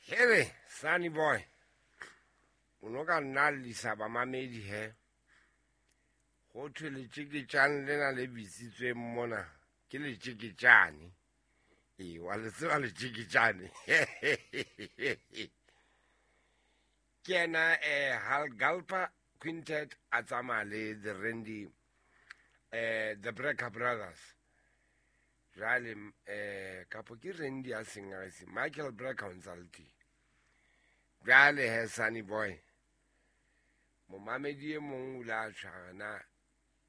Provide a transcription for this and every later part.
Hele, Sunny Boy, o no ka nna lisa bamamedi he. Go thwe letšeketšane lena le bitsitsweng mona ke letšeketšane. Ee, wa le tseba letšeketšane. Ke yena Hal Galper Quintet a tsamaya le the Randy the Brecker Brothers. Jwale kapo ke Randy a seng a se Michael Brecker o ntsa le teng. Jwale he Sunny Boy, momamedi e mong o ile a tshwara na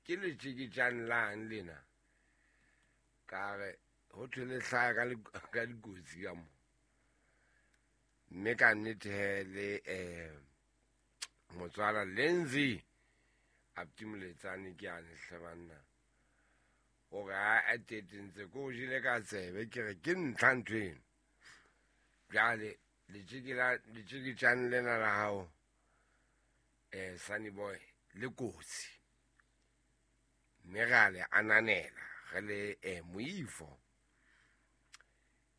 ke letšeketšane lang lena, ka re ho thwe le hlaya ka dikotsi ka mo. Mme ka nnete he le motswala Lindsay Aptimoletsane ke ane hle banna, hore a a tetentse ko o jele ka tsebe, ke re ke ntlha ntho eno. Jwale letšeketšane lena la hao Sunny Boy le kotsi, mme re a le ananela re le moifo.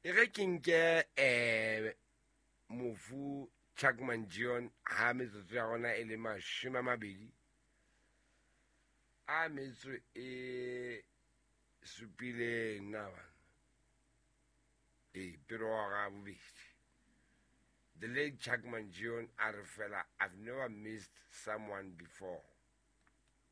E re ke nke mofu Chuck Mangione ha metsotso ya rona e le 20 a metso e supileng na bana e pele hora ya bobedi. The late Chuck Mangione a re fela, I've never missed someone before.